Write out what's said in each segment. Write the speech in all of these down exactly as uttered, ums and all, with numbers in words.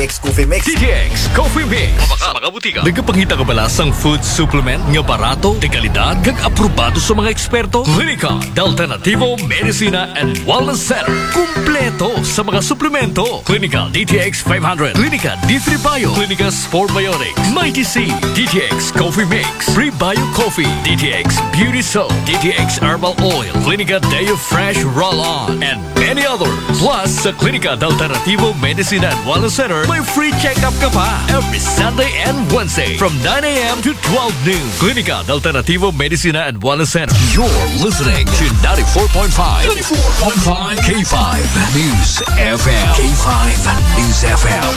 X Coffee Mix. D T X Coffee Mix. Mabaka mga butika. Nagapangita ka ba sa food supplement nga barato, de kalidad, kag aprobado sa mga eksperto? Klinika de Alternativo Medicina and Wellness Center. Kumpleto sa mga suplemento. Klinika D T X five hundred, Klinika D three Bio, Klinika Sport Biotics, Mighty C, D T X Coffee Mix, Prebio Coffee, D T X Beauty Soap, D T X Herbal Oil, Klinika Deo Fresh Roll-On, and many others. Plus, sa Klinika de Alternativo Medicina and Wellness Center, may free check-up ka pa every Sunday and Wednesday from nine a.m. to twelve noon. Klinika de Alternativo Medicina and Wellness Center. You're listening to ninety-four point five, ninety-four point five K five News F M. K five News F M.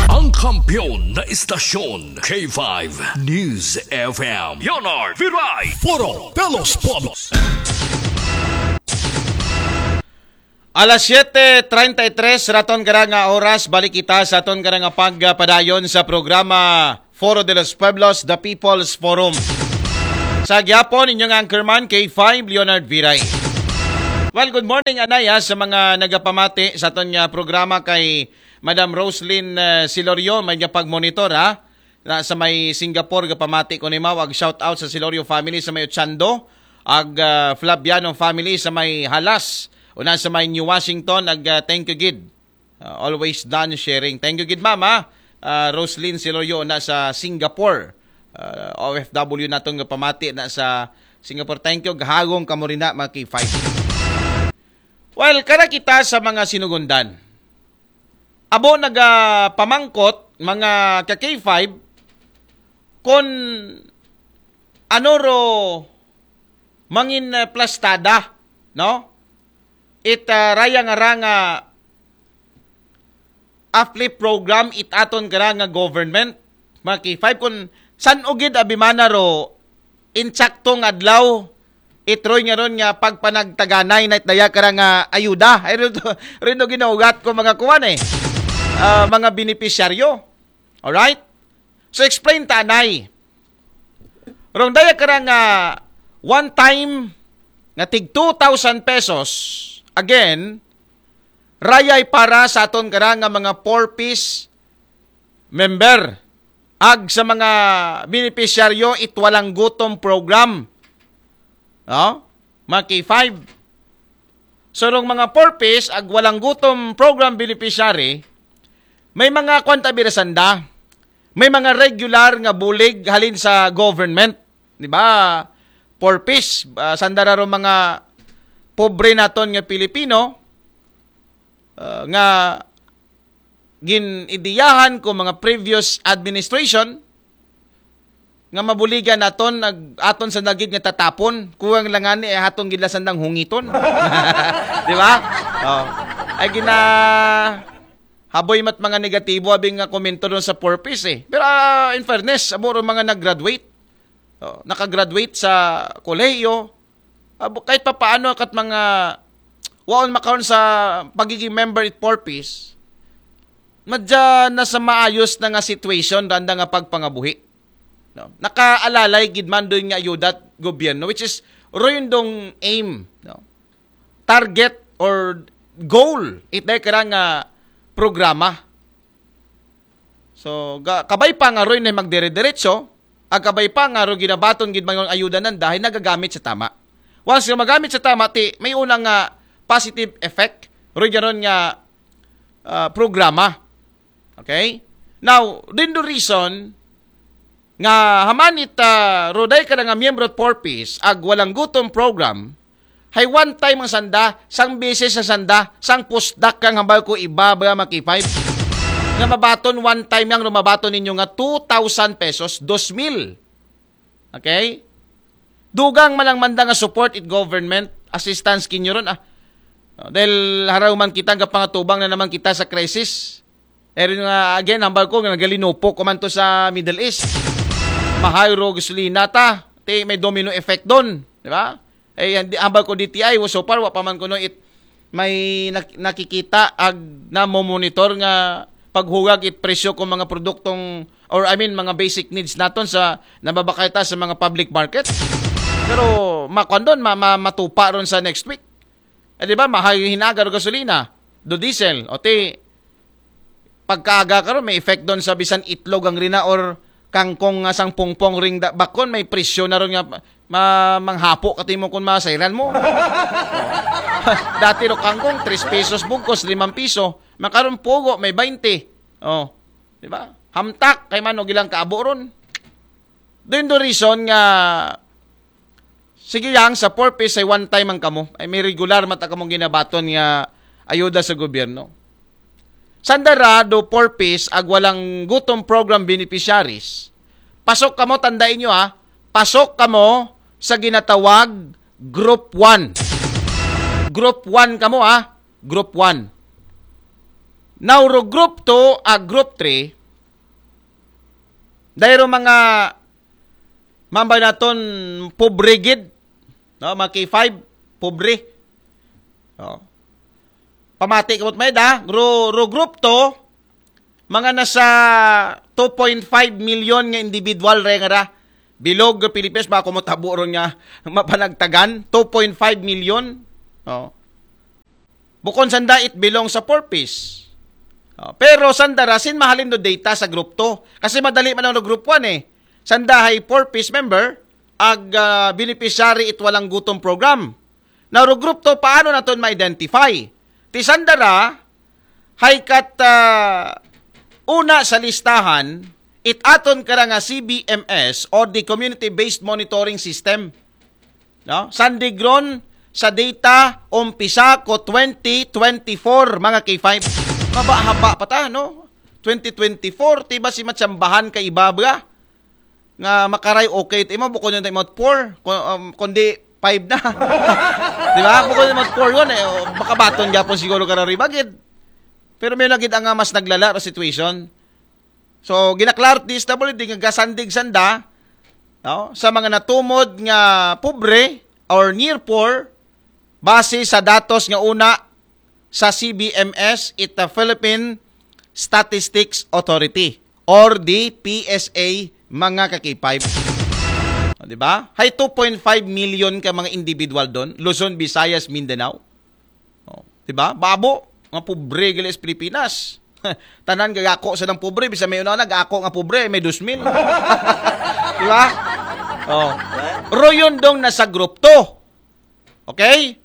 Ang kampiyon na istasyon, K five News F M. Leonard Viray. Foro de los Pueblos. Alas siete treinta y tres raton kara nga oras, balik kita sa aton kara nga pagpadayon sa programa Foro de los Pueblos, The People's Forum. Sa gyapon, inyong anchorman, K five, Leonard Viray. Well, good morning, anay, ha, sa mga nagapamati sa aton nga programa kay Madam Roslyn uh, Silorio, may nga pagmonitor, ha. Na sa may Singapore, gapamati ko ni Mao, ag shout out sa Silorio family sa may Ochando, ag uh, Flaviano family sa may Halas, una sa may New Washington, ag uh, thank you gid. Uh, always done sharing. Thank you gid, mama. Uh, Roslyn Silorio na sa Singapore. Uh, O F W naton nga pamati na sa Singapore. Thank you. Gahagong kamo rin na, mga K five. Well, kara kita sa mga sinugundan. Abo nagapamangkot, mga ka K five, kung ano ro mangin uh, plastada, no? It uh, raya nga ra nga uplift program, it aton kara nga government, mga K five, kung san ugid abimana ro insaktong adlaw, itroy nga ron nga pagpanagtaganay na itdaya kara nga ayuda. Ay, rin, rin ginaugat ko mga kuwan eh. Uh, mga beneficiaryo. Alright? So explain ta anay. Rong daya kara nga one time nga tig two thousand pesos, again, rayay para sa aton kara nga mga four Ps member. Ag sa mga beneficiaryo, it walang gutom program. No? Mga K five. So, rong mga four Ps, ag walang gutom program beneficiary, may mga kwanta birasanda. May mga regular nga bulig halin sa government. Di ba? Four Ps, uh, sandara ro mga pobre naton nga Pilipino, uh, nga gin-idiyahan ko mga previous administration nga mabuligan naton nag aton sa nagid nga tatapon, kuwang lang ani ay hatong gidlasan ng hungiton. Di ba? Oh. Ay gina haboy mat mga negatibo abing nga komento doon sa purpose eh. Pero uh, in fairness, aburo mga nag-graduate. Oh, nakagraduate sa kolehiyo, uh, kahit papaano kat mga waon makaon sa pagiging member it purpose, madya na sa maayos na nga situation randa nga pagpangabuhi. No? Nakaalalay gid man doon nga ayuda at gobyerno, which is royong dong aim, no? Target or goal itay kara nga programa. So, ga, kabay pa nga roy na magdire-diretso, ag kabay pa nga ro ginabaton gid mga ayuda nan dahil nagagamit sa tama. Once nga magamit sa tama, ti may unang nga positive effect roy garon nga uh, programa. Okay? Now, din do reason nga hamanit uh, roday ka nga miyembro at purpose ag walang gutom program, hay one time ang sanda, sang beses sa sanda, sang pusdak kang hambal ko iba ba mga K five. Nga mabaton one time yang rumabaton ninyo nga two thousand pesos, dos mil. Okay? Dugang man ang manda nga support it government, assistance kinyo ron ah. Dahil haraw man kita nga pangatubang na naman kita sa crisis. Pero nga again, hambal ko nga nagalinupok ko man to sa Middle East. Mahal ro gasolina ta. Ti may domino effect doon, di ba? Eh, hambal ko D T I, so far, wa pa man kuno it may nakikita ag na monitor nga paghugag it presyo kung mga produktong or I mean mga basic needs naton sa nababakay ta sa mga public market. Pero makuan doon, ma, ma, matupa ron sa next week. Eh, di ba, mahal yung hinaga ro gasolina, do diesel, o ti pagkaaga karon may effect doon sa bisan itlog ang rina or kangkong nga sang pungpong ring da, bakon may presyo na ron nga ma, manghapo ka timo kung masayran mo. Dati ro kangkong, tres pesos bugkos, limang piso. Makaron pugo, may baynte. Oh, di ba? Hamtak, kay mano gilang kaabo ron. Doon do reason nga, sige yang sa four Ps ay one time ang kamo. Ay may regular mata kamong ginabaton nga ayuda sa gobyerno. Sandara do four Ps ag walang gutom program beneficiaries. Pasok kamo, tandaan nyo ha, pasok kamo sa ginatawag Group one. Group one kamo ha, Group one. Now, ro Group two ag Group three, dayro mga mambay naton pobre gid, no? Mga K five, pobre. No? Pamati kamot may da, ro, ro Group two, mga nasa two point five million nga individual re nga ra. Bilog nga Pilipinas, baka mo tabo ron nga mapanagtagan, two point five million. Oh. Bukon sanda it belong sa four Ps. Oh, pero sanda ra sin mahalin do data sa group two. Kasi madali man ang group one eh. Sanda hay four Ps member, ag ah, beneficiary it walang gutom program. Now, ro group two, paano naton ma-identify? Ti sanda ra, hay kat ah, una sa listahan, it aton kara nga C B M S or the Community-Based Monitoring System. No? Sandig ron sa data umpisa ko twenty twenty-four, mga K five. Maba-haba pa ta, no? Twenty twenty-four, ti ba si matsambahan ka iba ba? Nga makaray okay ti imo, bukon yung ti imo four, ku- um, kundi five na. Di ba? Bukon yung imo four yun, eh, o, makabaton gapon siguro ka na ribagid. Pero may lagid ang nga mas naglala ro situation. So, ginaklaro ti S W D nga gasandig sanda, no, sa mga natumod nga pobre or near poor, base sa datos nga una sa C B M S, it the Philippine Statistics Authority or the P S A, mga ka-K five. O, di ba? Hay two point five million ka mga individual doon, Luzon, Visayas, Mindanao. O, di ba? Babo, nga pobre gali sa Pilipinas. Tanan gagako sa nang pobre, bisa may una nagako nga pobre, may dos mil. Di ba? O. Royon dong nasa group two. Okay?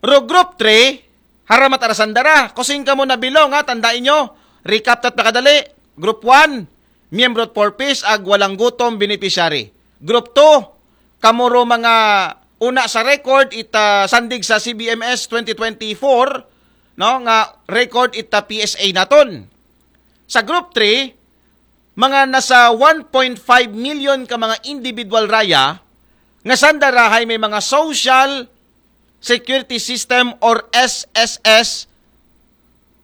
Ro group three, haramat ara sanda ra. Kusing kamo na bilong, ha, tandaan nyo. Recap tat pakadali. Group one, miyembro four Ps ag walang gutom beneficiary. Group two, kamo ro mga una sa record ita sandig sa C B M S twenty twenty-four, no, nga record ita P S A naton. Sa group three, mga nasa one point five million ka mga individual raya nga sanda ra hay may mga social security system or S S S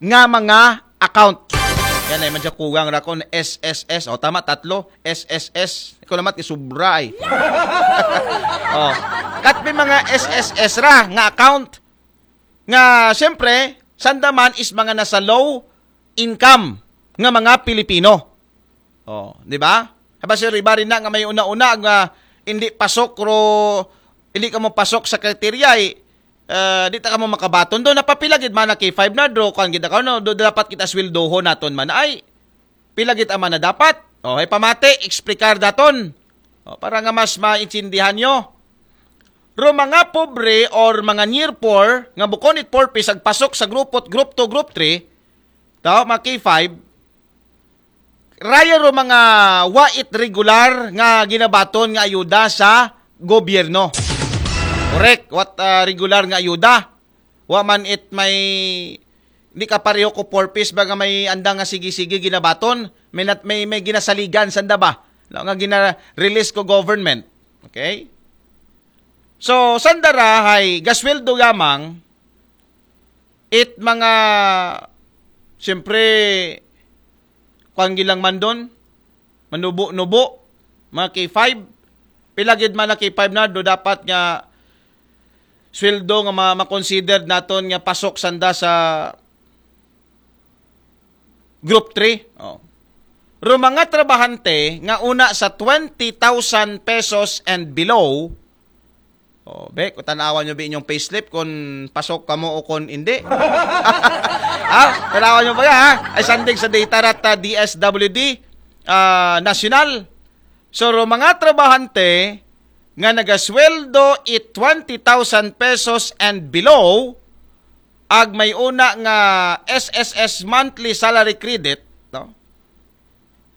nga mga account. Yan ay madya kugang ra kon S S S. O, tama, tatlo. S S S. Ikaw naman, isubra ay. O. Kat may mga S S S ra nga account nga, siyempre, sandaman is mga nasa low income nga mga Pilipino. O, di ba? Haba si Riba rin na nga may una-una nga hindi pasok ro, hindi ka mo pasok sa kriteria, eh, ah, di ta ka mo makabaton do. Napapila gid man na K five na do, kuan gid ka, no? Do, dapat kita sweldohon naton man. Ay, pila gid man na dapat? O, ay pamati, explicar daton. O, para nga mas maintindihan nyo. Ro mga pobre or mga near poor, nga bukon it poor, pisag pasok sa group, group two, group three, tao, mga K five, raya ro mga wa it regular nga ginabaton nga ayuda sa gobyerno. Correct. What ah, regular nga ayuda? Wa man it may, di ka pareho ko four Ps ba nga may andang nga sige-sige ginabaton? May, nat, may, may ginasaligan sanda ba? No, nga gina-release ko government. Okay? So, sanda ra hay gasweldo yamang it mga, siyempre, kuan gilang man doon, manubo-nubo, mga K five. Pila gid man na K five na do dapat nga sweldo nga ma- ma-considered naton nga pasok sanda sa group three. O. Ro mga trabahante nga una sa twenty thousand pesos and below, Oh, be, kung tanawan nyo ba inyong payslip kung pasok kamo o kung hindi? Ha? Tanawan nyo ba, ha? Ay, sandig sa data rat, ah, D S W D ah, nasyonal. So, ro mga trabahante nga nagasweldo it twenty thousand pesos and below, ag may una nga S S S monthly salary credit, no?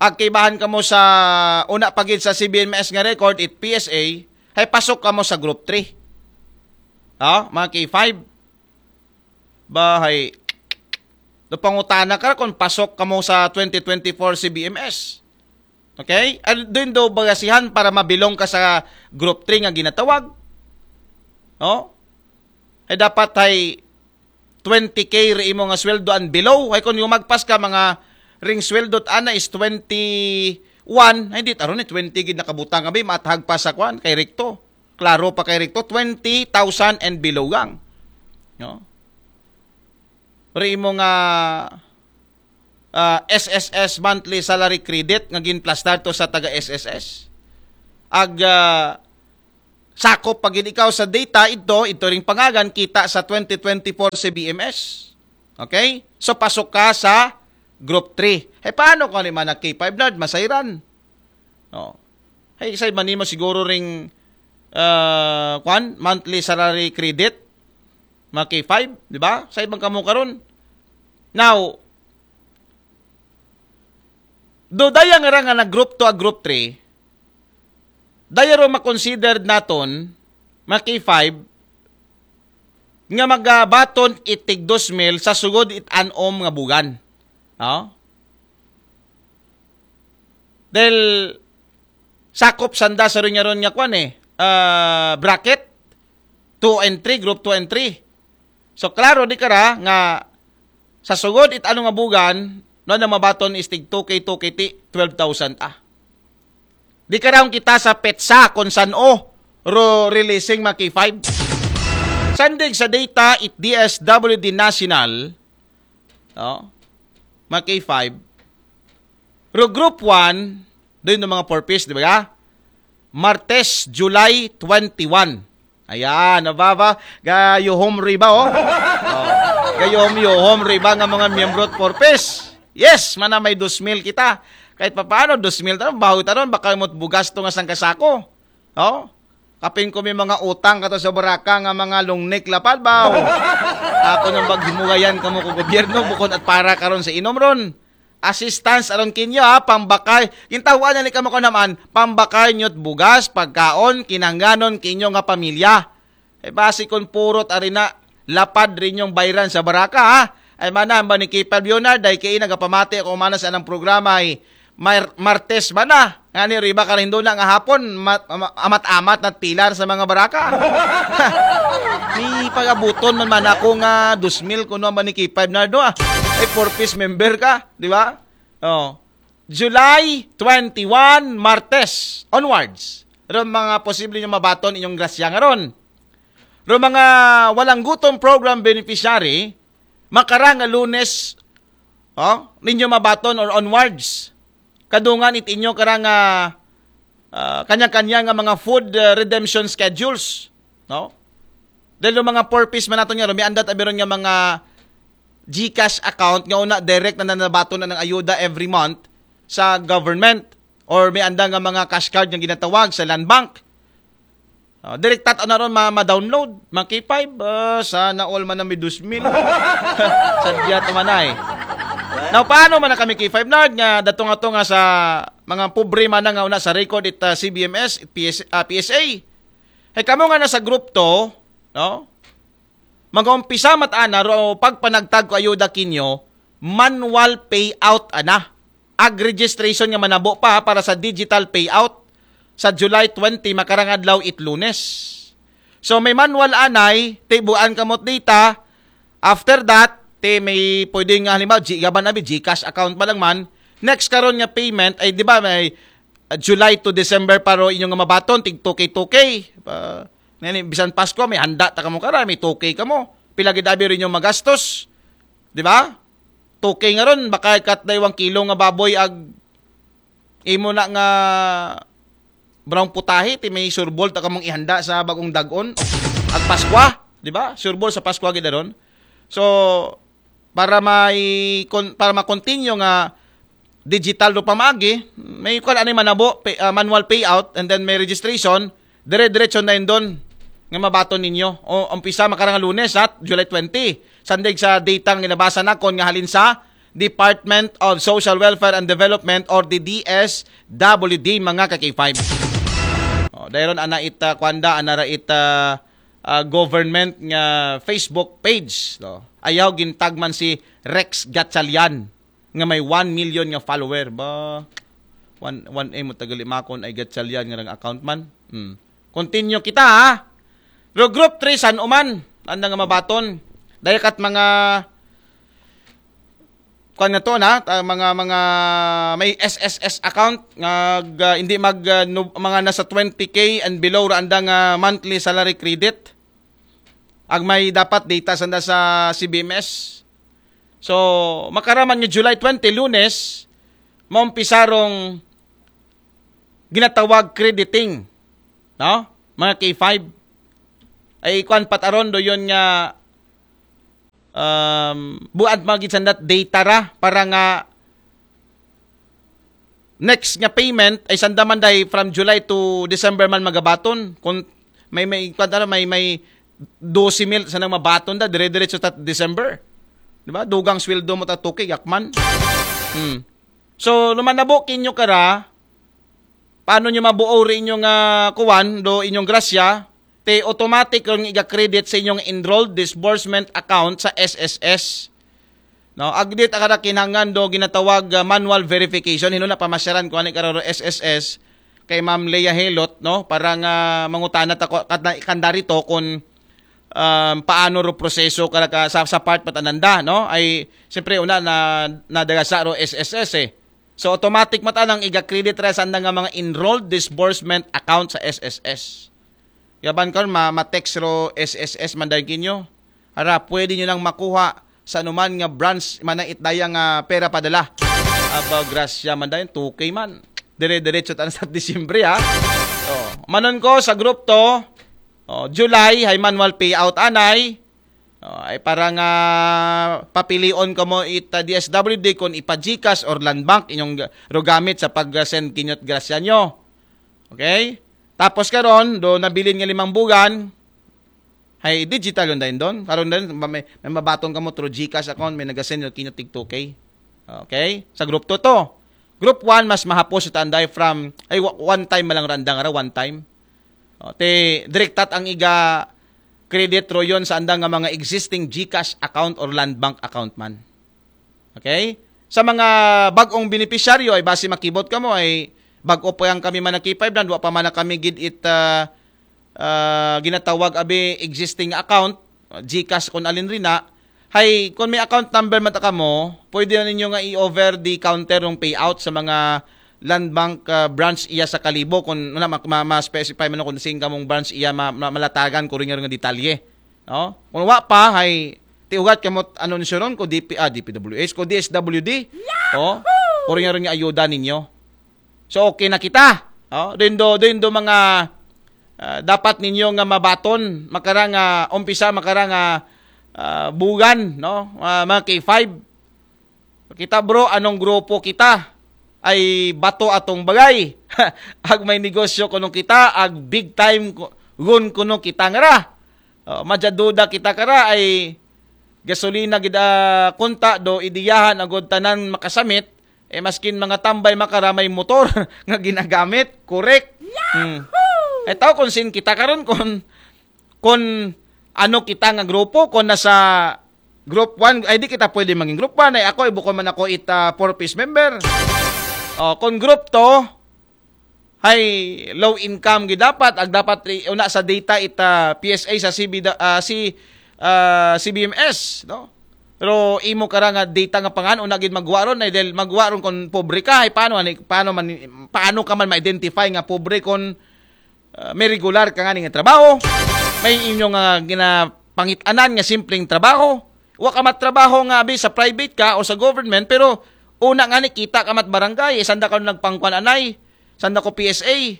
Ag kaibahan kamo sa una pa gid sa C B M S nga record, it P S A, hay pasok kamo sa group three. Ha? Mga K five. Bahay. Do pangutana ka kung pasok kamo sa twenty twenty-four C B M S. Okay? Ano din do bagasihan para mabilong ka sa group three nga ginatawag? No? Ay dapat ay twenty K ri imo nga sweldo and below. Ay kung yung magpas ka mga ring sweldo ana is twenty-one, ay di aron ni twenty gid nakabutang abi, matahag pa sa kwan kay Rikto. Klaro pa kay Rikto, twenty thousand and below gang. No? Ri imo nga ah, S S S monthly salary credit nga ginplastar to sa taga S S S. Ag ah, sakop pa gid ikaw sa data ito, ito ring pangagan kita sa twenty twenty-four C B M S. Okay? So pasok ka sa group three. Hey, paano kung ano man nag K five nerd, masayran? No. Hey, say man nimo siguro ring ah, kwan, monthly salary credit, mga K five, di ba? Sa ibang kamo karon. Now, do daya nga ra nga nag group two a group three, daya ro makonsider naton, mga K five, nga magabaton itig dos mil sa sugod it anom nga bugan. No? Dahil sakop sanda sa ron nga ron nga kwan eh, ah, bracket two and three, group two and three. So klaro di kara nga sa sugod it ano nga bugan, no, na mabaton is tig two K, two K ti twelve thousand ah. Di kara kita sa petsa kung san o ro releasing mga K five. Sandig sa data it D S W D National, no? Mga K five. Ro group one, doon ng mga purpose, di ba? Martes, July twenty-one. Ayan, nababa, gayuhom riba, oh. Oh. Gayuhom-yuhom riba nga mga miyembro at purpose. Yes, mana may dos mil kita. Kahit papaano, dos mil taron, baho taron, baka mo't bugas to nga sangkasako. Oh? Kapin ko may mga utang kato sa baraka nga mga lungnik lapad ba? Oh. Ako nang baghimugayan kamo ko gobyerno, bukod at para karon sa inom ron. Assistance aron kinyo ha, pambakay. Gintahuan na ni kamo ko naman, pambakay nyo't bugas, pagkaon, kinahanglanon kinyo nga pamilya. Ay basi kon purot ari na lapad rin yung bayran sa baraka ha. Ay mana ba ni Kipal Leonard, ay kay nagapamati ako mana sa anang programa ay Mar- Martes mana. Nga ni riba ka rin doon nga hapon, mat- ama- amat-amat na pilar sa mga baraka. Ni pagabuton man man ako nga dos mil kuno ba ni Kipal Leonardo ah. Ay four piece member ka, di ba? Oh. July twenty-one, Martes onwards. Ron mga posible nyo mabaton inyong grasya nga ron. Ron mga walang gutom program beneficiary, makarang nga Lunes, oh, ninyo mabaton or onwards. Kadungan it inyo karang ah, ah, kanya-kanya nga mga food ah, redemption schedules, no? Dahil yung mga purpose man nato nga ron, may andat abiron nga mga GCash account nga una direct na nanabaton na ng ayuda every month sa government or may anda nga mga cash card nga ginatawag sa Land Bank. Ah, direktat ano ron ma- ma-download, mga K five, ah, sana all man na may dos mil. Sadya to man ay. Now, paano man na kami K five Nard nga datong ato nga sa mga pobre man na nga una sa record it ah, C B M S, it P S, ah, P S A. Hay kamo nga nasa group two, no? Mag-umpisa mat ana ro pagpanagtag ko ayuda kinyo, manual payout ana. Ag registration nga manabo pa para sa digital payout sa July twenty, makarang adlaw it Lunes. So may manual anay, tibuan kamot data. After that, ti may pwede nga halimbawa, G, gaban abi, GCash account pa lang man. Next karon nga payment ay di ba may uh, July to December pa ro inyong mabaton tig two K two K. Uh, nani, bisan Pasko may handa ta kamo kara, may two K kamo. Pila gid abi rin yung magastos. Di ba? Two K nga ron, baka kat na iwang kilo nga baboy ag imo na nga brown putahe, ti may sureball ta kamong ihanda sa bag-ong dag-on. Ag Paskwa, di ba? Sureball sa Paskwa gid aron. So, para may kon-, para ma-continue nga digital do pamaagi, may kuan ani manabo, pay, ah, manual payout, and then may registration, dire-diretso na yun doon nga mabaton ninyo. O, umpisa makarang Lunes, ha, July twenty. Sandig sa data nga nabasa nakon nga halin sa Department of Social Welfare and Development or the D S W D, mga ka-K five. O, dayron ana ita, kuanda, ana ra ita, ah, government nga Facebook page, no? Ayaw gintagman si Rex Gatchalian nga may one million nga follower. Ba, one, one M mo tagali makon ay Gatchalian nga rang account man. Hmm. Continue kita, ha? Pero group three, san uman, anda nga mabaton. Dayakat mga, kuan na to na, ta-, mga, mga may S S S account nga, ga-, hindi mag, ah, no-, mga nasa twenty K and below ra anda nga monthly salary credit. Ag may dapat data sanda sa C B M S. So, makaraman nga July twenty, Lunes, maumpisa rong ginatawag crediting, no? Mga K five. Ay, kuan pat aron do yun nga, um, buad magid sandat data ra para nga next nga payment ay sanda man day from July to December man magabaton. Kung may, may, kuwan tara, may, may dose mil sa nang mabaton da, dire-diretso ta December. Di ba? Dugang sweldo mo ta two K, yakman. Hmm. So, lumanabo kinyo kara, paano nyo mabuo rin inyong, ah, kuwan, do inyong grasya, te automatic ron iga-credit sa inyong enrolled disbursement account sa S S S. No, agdit akada kinahanglan do ginatawag, ah, manual verification. Hino na pamasyaran ko ani kararo S S S kay Ma'am Leah Helot, no, para nga mangutana ta ko kat-, kanda rito kung, um, paano ro proseso kara ka, sa, sa part patananda, no? Ay siyempre una na nadagasa ro S S S eh. So automatic mata nang iga-credit ra sa anda nga mga enrolled disbursement account sa S S S. Yaban karon ma, ma-text ro S S S man dahil kinyo. Ara, pwede nyo nang makuha sa anuman nga branch man na itdaya nga pera padala. Abaw, grasya man dahil, two K man. Dire-diretso tayo sa Disyembre, ha? Oh, manon ko sa group to. Oh, July, hay manual payout anay. Oh, ay para nga papilion ka mo it, uh, D S W D kung ipa-GCash or Land Bank inyong ga-, ro gamit sa pag-send kinyot grasya nyo. Okay? Tapos karon, do nabilin nga limang bugan, hay digital yun dahil doon. Karon din, ma-, may, may mabaton ka mo through GCash account, may nagasend yung kinyo tig two K. Okay? Sa group two to. Group one, mas mahapos ito anday from, ay, wa-, one time malang randang ara, one time. O, te, direktat ang iga credit ro yun sa andang nga mga existing GCash account or Land Bank account man. Okay? Sa mga bag-ong beneficiaryo, ay basi makibot ka mo, ay bag-o pa yang kami man nag-K five land, wa pa man na kami gid it, ah, ah, ginatawag abi existing account, GCash kung alin rin na, hay, kung may account number man ta kamo, pwede na ninyo nga i-over the counter ng payout sa mga Land Bank, ah, branch iya sa Kalibo. Kung wala, ma-, ma-, ma-specify man kung sing kamong branch iya ma-, ma-, malatagan ko rin nga detalye. No? Kung wa pa, hay, tiugat kamot anunsyo ron ko D P, ah, D P W H, ko D S W D. Oh, ko rin nga rin nga ayuda ninyo. So, okay na kita. Oh, dindo, dindo mga, ah, dapat ninyo nga mabaton, makara nga, umpisa, makara nga, ah, bugan, no? Ah, mga K five. Kita, bro, anong grupo kita? Ay bato atong bagay. Ag may negosyo kuno kita, ag big time ku-, gun kuno kita ngara. Oh, madya duda kita kara, ay gasolina gid, ah, kunta do idiyahan agud tanan makasamit, eh, maskin mga tambay makara may motor nga ginagamit, correct? Hmm. Eh, tao kung sin kita karon kung, kung ano kita nga grupo, kung nasa group one, ay di kita pwede maging group one, ay ako, ibukon man ako ita four Ps member. Oh, kung group two, hay low income gid dapat, ag dapat ri-, una sa data ita P S A sa C B da-, ah, si, ah, C B M S, no? Pero imo kara nga data nga pangan, una gid magwa ron, ay dahil magwa ron kung pobre ka, ay paano, ani, paano man, paano ka man ma-identify nga pobre kung, ah, may regular ka nga nga trabaho, may inyo nga ginapangitanan nga simpleng trabaho, wa ka matrabaho nga abi sa private ka o sa government, pero una nga ni kita ka mat barangay, eh, sanda ka nagpangkuan anay, sanda ko P S A.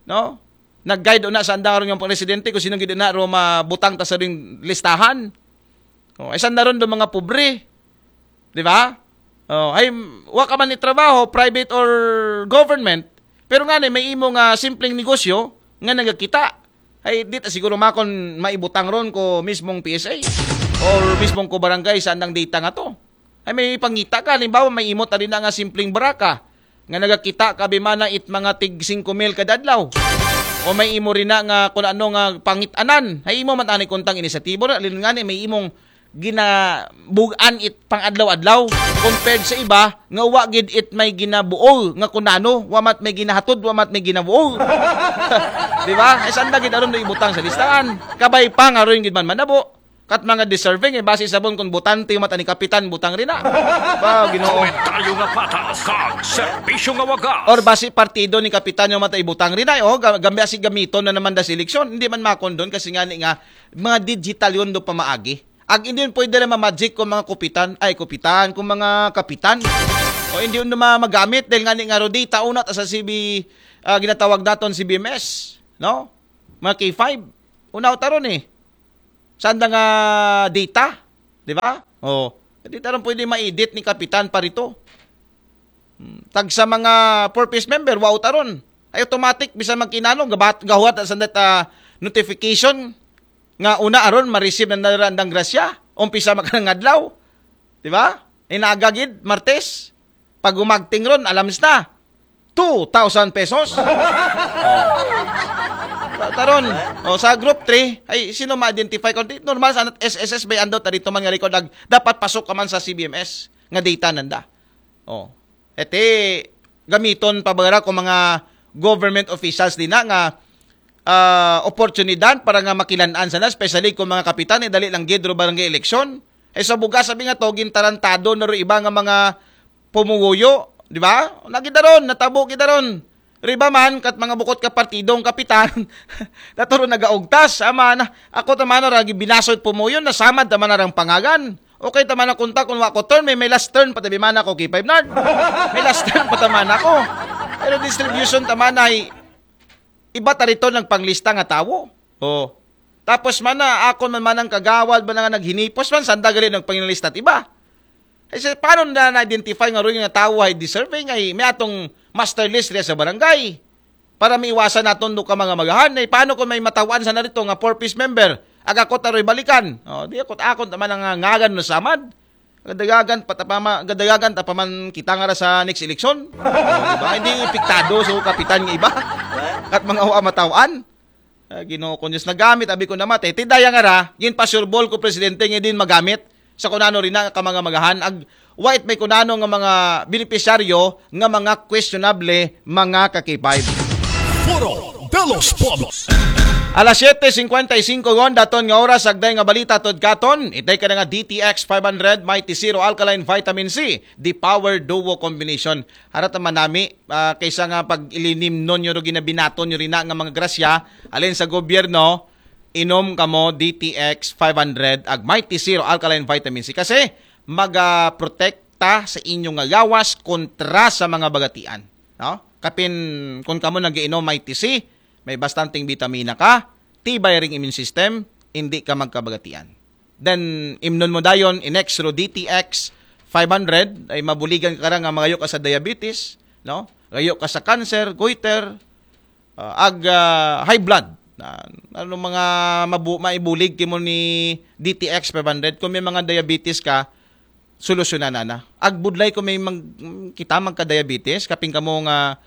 no? Nag-guide una sa andang aron nga presidente kung sino gid na ro mabutang ta sa ring listahan. Oh, ay sanda ron do mga pobre. Di ba? Oh, ay wa ka man ni trabaho, private or government, pero nga ni may imo nga simpleng negosyo nga nagakita. Ay di ta siguro makon maibutang ron ko mismong P S A or mismong ko barangay sa andang data nga to. Ay may pangita ka, halimbawa may imo ta rin nga simpleng baraka nga nagakita ka bimana it mga tig singko mil kada adlaw. O may imo rin na nga kung ano nga pangitanan. Ay imo man tani kuntang inisyatibo na, alin nga ni may imong ginabugan it pang-adlaw-adlaw compared sa iba nga wa gid it may ginabuol nga kunano, wa mat may ginahatod, wa mat may ginabuol. Di ba? Ay sanda gid aron do ibutang sa listahan. Kabay pa nga ron gid man manabo. Kat mga deserving, eh, base sabon kung butante yung mata ni Kapitan, butang rin na. Ba, ginoo. Komentaryo nga patas, kag serbisyo nga wagas. Or base partido ni Kapitan yung mata ibutang rin na. Oh, ga- gambi asi gamiton na naman da sa eleksyon. Hindi man makon doon kasi nga ni nga, mga digital yun do pamaagi. Ag hindi yun pwede na mamagic kung mga kupitan, ay kupitan, kung mga kapitan. O hindi yun na ma- magamit dahil nga ni nga Rodi, taunat sa C B, ah, ginatawag naton C B M S, no? Mga K five. Unaw taron eh. Saan na nga data? Di ba? Oh. Di taron pwede ma-edit ni Kapitan pa rito. Hmm. Tag sa mga purpose member, wow taron. Ay automatic, bisan magkinano, gabat, gahuat sa that, ah, notification nga una aron ma-receive na narandang grasya. Umpisa makanang adlaw. Di ba? Inaga gid, Martes. Pag umagting ron, alams na. Two thousand pesos. Oh. Ta- Taron, oh, sa group three, ay sino ma-identify ko? Di- Normal sana S S S by ando ta dito man nga record ag dapat pasok ka man sa C B M S nga data nanda. Oh. Ete gamiton pa ba ko mga government officials din na nga ah, oportunidad para nga makilan-an sana, especially kung mga kapitan, eh, dali lang gid ro barangay eleksyon. Eh, sa bugas, sabi nga to, gintarantado na ro iba nga mga pumuguyo, di ba? Nagidaron, natabo gidaron. Riba man, kat mga bukot ka partidong kapitan, naturo nagaugtas, ama na, ako tamana ra, gibinasoy pumuyo, nasamad tamana rang pangagan. Okay tamana kunta, kung wa ko turn, may, may last turn, patabi man ako, K five Nard. May last turn, patamana ko. Pero distribution tamana, ay, iba ta rito nagpanglista nga tawo. Oh. Tapos man na, akon man manang kagawad man nga naghinipos man, sanda gali nagpanglista at iba. Ay, sa, paano na na-identify nga rin nga tawo ay deserving ay may atong master list riya sa barangay? Para maiwasan naton do ka mga magahan. Ay, paano kung may matawan sa narito nga four piece member? Aga ko taro'y balikan. Oh, di ako, akon naman ang ngagan no samad. Gadagagan pa ta pa ma- gadagagan ta pa man kita nga ra sa next election. Oh, di ba? Hindi epektado sa kapitan nga iba. Kat mga wa matawan. Ah, Ginoo ko Diyos, nagamit abi ko namat eh. Tidaya nga ra, gin pasureball ko presidente nga din magamit sa kunano rin na ka mga magahan. Ag wait may kunano nga mga benepisyaryo nga mga questionable mga ka-K five. Foro de los Pueblos. Alas siyete cincuenta y cinco gon daton nga oras, agday nga balita tod katon. Itay ka na nga D T X five hundred, Mighty Zero Alkaline Vitamin C, the power duo combination. Harata manami, ah, kaysa nga pag ilinimnon nyo ro ginabinaton nyo rin na nga mga grasya, alin sa gobyerno, inom kamo D T X five hundred ag Mighty Zero Alkaline Vitamin C kasi magaprotekta sa inyo nga gawas kontra sa mga bagatian, no? Kapin kung kamo nagiinom Mighty C, may bastanteng bitamina ka, tibay ring immune system, hindi ka magkabagatian. Then imnon mo dayon in extra D T X five hundred ay mabuligan ka ra nga magayo ka sa diabetes, no? Gayo ka sa cancer, goiter, ah, ag ah, high blood. Na, ano mga mabu- maibulig kimo ni D T X five hundred kung may mga diabetes ka, solusyonan na na. Ag budlay kung may mag, kita magka-diabetes, kaping kamo nga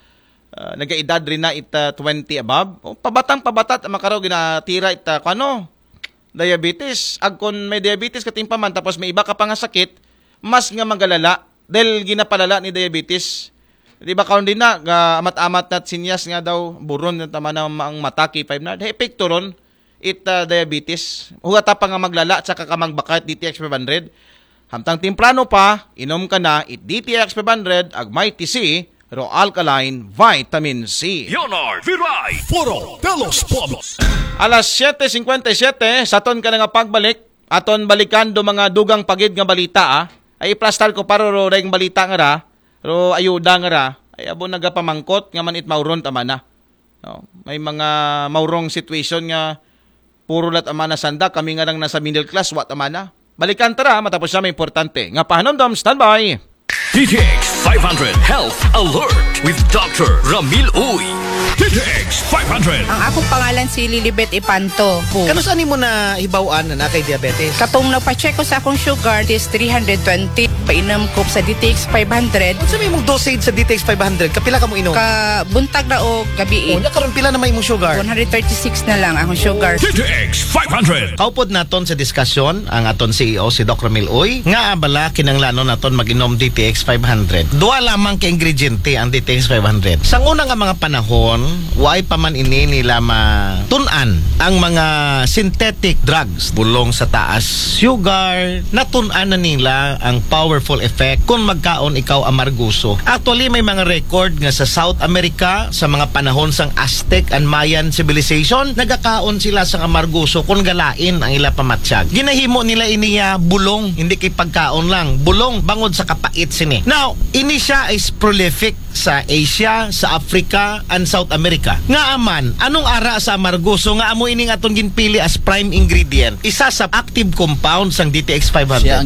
ah, nagaedad rin na ita twenty above. O, pabatang pabata ta makaraw ginatira ita kano diabetes. Ag kon may diabetes katimpa man tapos may iba ka pa nga sakit, mas nga magalala dahil ginapalala ni diabetes. Di ba karon din na ga amat-amat na sinyas nga daw buron na tama na ang mata K five na. Epekto ron it ah, diabetes. Hugata pa nga maglala at saka ka magbakayat D T X five hundred. Hamtang temprano pa, inom ka na it D T X five hundred ag Mighty C, Ro Alkaline Vitamin C. Leonard Viray, Foro de los Pueblos. Alas siyete cincuenta y siete, sa ton ka na nga pagbalik, aton balikan do mga dugang pagid nga balita, ah. Ay iplastar ko paro ro reng balita nga ra, ro ayuda nga ra, ay abo nagapamangkot nga man it mauron tama na. No? May mga maurong situation nga puro lat amana sanda, kami nga lang nasa middle class, wa ta mana. Balikan tara, matapos siya may importante. Nga pahanumdom, standby. D T X five hundred Health Alert with Doctor Ramil Uy. D T X five hundred. Ang akong pangalan si Lilibet Ipanto. Kano saan mo na hibaw-an na nakay diabetes? Katong nagpa-check ko sa akong sugar is three hundred twenty. Painom ko sa D T X five hundred. Sa may mong dosage sa D T X five hundred, kapila ka mo inom? Ka buntag na o gabi. Oh, nya karon pila na may imong sugar? One hundred thirty-six na lang akong sugar. D T X five hundred. Kaupod naton sa diskasyon ang aton C E O, si Doc Ramil Uy, nga abala kinanglanon naton mag-inom D T X five hundred. Duha lamang ka ingrediente ang D T X five hundred. Sa una nga mga panahon, waay pa man ini nila matun-an ang mga synthetic drugs. Bulong sa taas sugar, natun-an na nila ang powerful effect kung magkaon ikaw amarguso. Actually, may mga record nga sa South America, sa mga panahon sang Aztec and Mayan civilization, nagakaon sila sa amarguso kung galain ang ila pamatyag. Ginahimo nila iniya bulong, hindi kay pagkaon lang. Bulong bangod sa kapait sini. Now, ini siya is prolific sa Asia, sa Africa, and South America. Nga aman, anong ara sa amarguso nga amo ining atong ginpili as prime ingredient? Isa sa active compound sang D T X five hundred. Siya ang